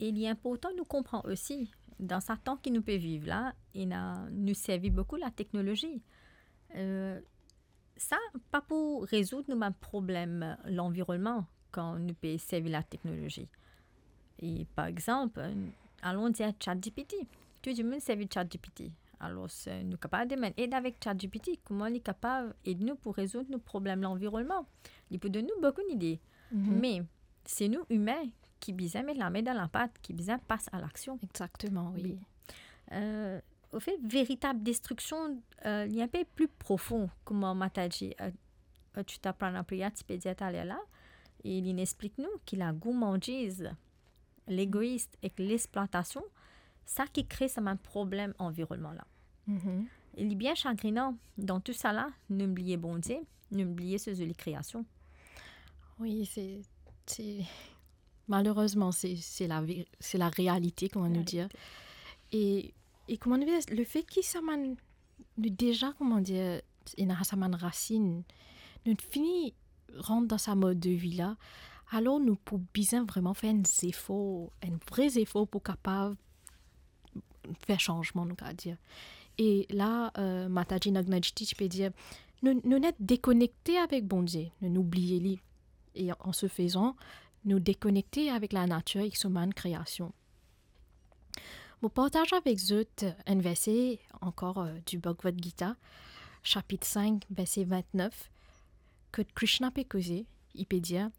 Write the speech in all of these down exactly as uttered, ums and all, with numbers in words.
E li inportan nou konpran osi, dan sa tan ki nou pe viv la, ena, nou servi boukou lateknolozi. Eh, sa pa pou rezoud nou bann problem lanvironnman kan nou pe servi lateknolozi. E par exanp, alon dir ChatGPT. Tou dimoun servi ChatGPT. Alor, eh, nou kapav demann ed avek ChatGPT, kouma li kapav ed nou pou rezoud nou problem lanvironnman. Li pou donn nou boukou lide. Mhm. Me se nou imin ki bizin met lame dan lapat, ki bizin pas a laksion. Exactement, oui. Oui. Euh, au fait, veritab destriksion, euh, li inpe pli profon, kouma Mataji, euh, euh, Chutaprana Priya ti pe dir taler la, e li explik nou ki lagourmandiz, legois ek lexplwatasion, sa ki kre sa bann problem anvironnman la. Mhm. E li bien sagrinan, dan tou sa la, nou bliye Bondie, nou bliye so zoli kreasion. Oui, c'est, c'est, malheureusement, c'est, c'est la vé-, c'est la réalité, kouma nou dir. Réalité. E, e kouma nou dir, lefe ki sa bann, nou deza, kouma dir, ena sa bann rasinn, nou fini rant dan sa mod de vi la, alor nou pou bizin vreman fer enn zefor, enn vre zefor pou kapav fer sanzman, nou kapav dir. E la, euh, Mataji Nagnajiti ti pe dir, nou, nou net dekonekte avek Bondie, nou, nou bliye li. E an se fezan, nou dekonekte avek lanatir ek so bann kreasion. Mo partaz avek zot enn verse ankor, euh, du Bhagavad Gita, sapit sink, verse vintnef, kot Krishna pe koze, li pe dir,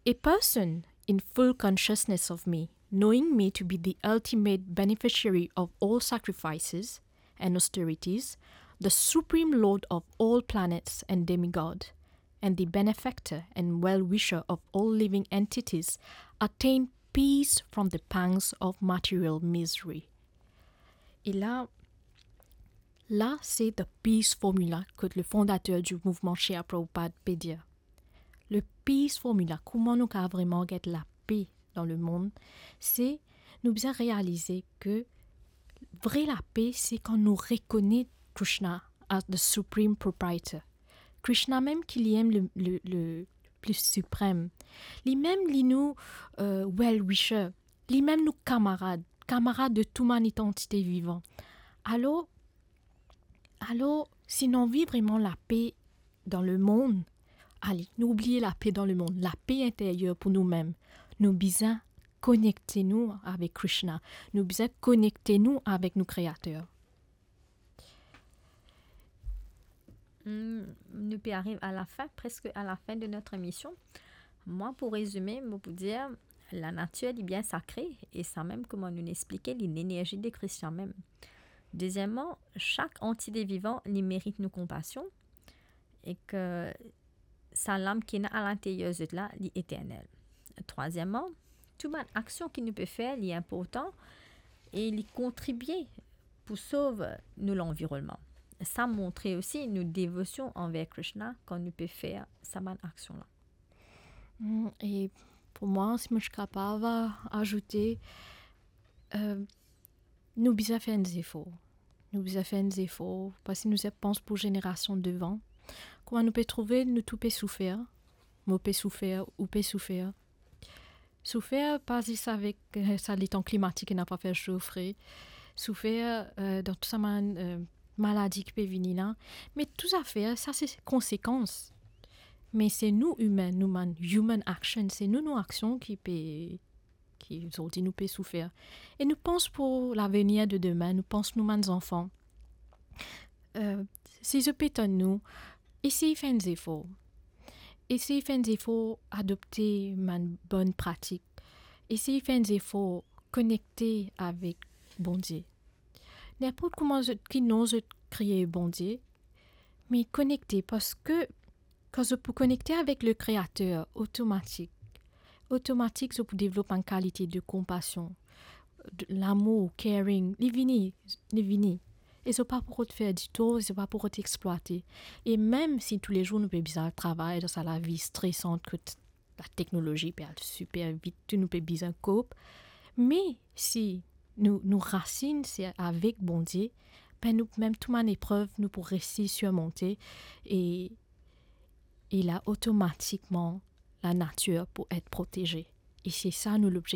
"A person in full consciousness of me, knowing me to be the ultimate beneficiary of all sacrifices and austerities, the supreme lord of all planets and demigod, and the benefactor and well-wisher of all living entities, attain peace from the pangs of material misery." E la, la se the peace formula kot le fondater du mouvman Srila Prabhupada pe dir. Le peace formula, kouma nou kapav vreman get lape dan lemond, se nou bizin realize ke vre lape, se kan nou rekonet Krishna as the supreme proprietor. Krishna mem ki li mem le, le, le pli siprem. Li mem li nou, euh, well-wisher. Li mem nou kamarad, kamarad de tou bann antite vivan. Alor, alor, si nou anvi vreman lape dan lemond, ale, nou bliye lape dan lemond, lape interyer pou noumem. Nou bizin konekte nou avek Krishna. Nou bizin konekte nou avek nou Kreater. Hmm, nou pe ariv a la fin, preske a la fin de notre émission. Mwa, pou rezime, mo pou dir, lanatir li bien sakre, e sa mem, kouma nou explike, li lenerzi de Krishna mem. Dezieman, sak antite vivan, li merit nou konpasion, e ke sa lam ki ena alinteryer zot la, li eternel. Trwazieman, tou bann aksion ki nou pe fer, li inportan e li kontribie pou sov nou lanvironnman. Sa montre osi nou devosion anver Krishna kan nou pe fer sa bann aksion la. Hmm, e pou mwa, si mo ti kapav azoute, euh, nou bizin fer enn zefor. Nou bizin fer enn zefor, parski nou zet pans pou zenerasion devan. Kouma nou pe trouve, nou tou pe soufer. Mo pe soufer, ou pe soufer. Soufer pa zis avek, euh, sa letan klimatik ena pa fer so fre. Soufer, euh, dan tou sa bann, euh, maladi ki pe vini la. Me tou zafer, sa se konsekans. Me se nou imin, nou bann human action, se nou, nou aksion ki pe, ki zordi nou pe soufer. E nou pans pou lavenir de demin, nou pans nou bann zanfan. Euh, si zot pe tann nou, esey fer enn zefor. Esey fer enn zefor adopte bann bonn pratik. Esey fer enn zefor konekte avek Bondie. Ninport kouma zot, ki non zot kriye Bondie, me konekte, parski kan zot pou konekte avek le Kreater, otomatik, otomatik zot pou devlop enn kalite de konpasion, de lamour, caring, li vini, li vini. E zot pa pou rod fer ditor, zot pa pou rod explwate. E mem si toulezour nou pe bizin al travay dan sa lavi stresan kot lateknolozi pe al siper vit, tou nou pe bizin cope. Me si nou, nou rasinn se avek Bondie, be nou mem tou bann eprev nou pou resi sirmonte e, e la otomatikman lanatir pou et proteze. E se sa nou lobze-,